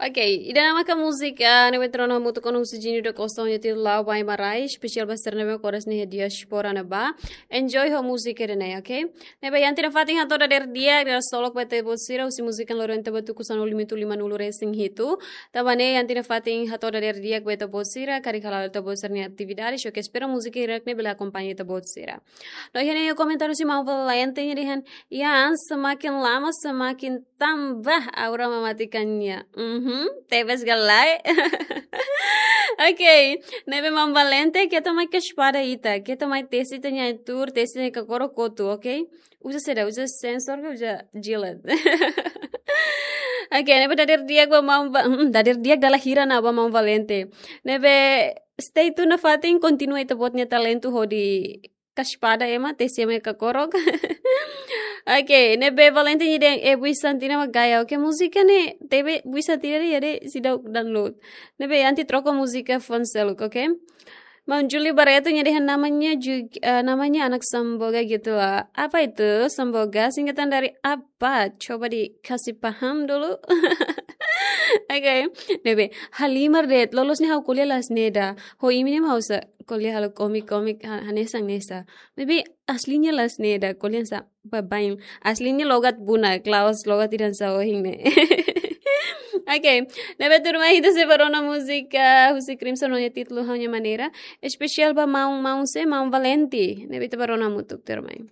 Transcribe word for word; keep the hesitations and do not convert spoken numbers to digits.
Ok, ida-ne'e maka múzika ne'ebé ita rona hamutuk ho Husi Jini da Costa nia títulu La'o ba Ema Rai, espesiál ba sira ne'ebé maka moras iha diáspora ne'ebá. Enjoy ho múzika ida-ne'e, ok? Ne'ebé iha ita-nia fatin hato'o dadeer di'ak, dala solok ba ita-boot sira, husi múzika loron ita-boot tuku sanulu minutu limanulu resin hitu. Tanba ne'e iha ita-nia fatin hato'o dadeer di'ak ba ita-boot sira, karik hala'o ita-boot sira-nia atividade, so ke espera múzika hirak ne'e bele akompaña ita-boot sira. No iha ne'e komentáriu husi maun Valente nia dehan, ya, semakin lama semakin tambah aura mematikannya. Mhm, tebes ka lae. Ok, ne'ebé maun Valente, keta mai kaspada ita, keta mai tesi ita-nia tuur, tesi ita-nia kakorok kotu, ok? Uza saida, uza sensor ka uza jilet. Ok, ne'ebé dadeer di'ak ba maun Va-, hmm, dadeer di'ak dala hira ona ba maun Valente. Ne'ebé stay tune nafatin, kontinua ita-boot nia talentu hodi kaspada ema, tesi ema nia kakorok. Ok, ne'ebé Valente nia dehan, eh, Bui Santina mak gaya. Ok, múzika ne'e, tebe Bui Santina ne'e, ya de, seidauk download. Ne'ebé iha ita troka múzika fun seluk, ok? Maun Juli Barreto nia dehan namanya juga, eh, namanya anak Samboga gitu lah. Apa itu Samboga? Singkatan dari apa? Coba dikasih paham dulu. Ok. Ne'ebé, halimar de'it, loloos ne'e ha'u ko'alia la'ós ne'e ida. Ho imi ne'e mak ha'u sei ko'alia halo komik-komik, ha-, hanesan hanesan. Ne'ebé aslinya la'ós ne'e ida, ko'alia hanesan baibain. Aslinya logat Bunak, la'ós logat ida hanesan ohin ne'e. Ok. Ne'ebé tuirmai ita sei bá rona múzika husi Crimson no nia títulu Ha'u-nia Maneira. Espesiál ba maun, maun sé, maun Valente. Ne'ebé ita bá rona hamutuk tuirmai.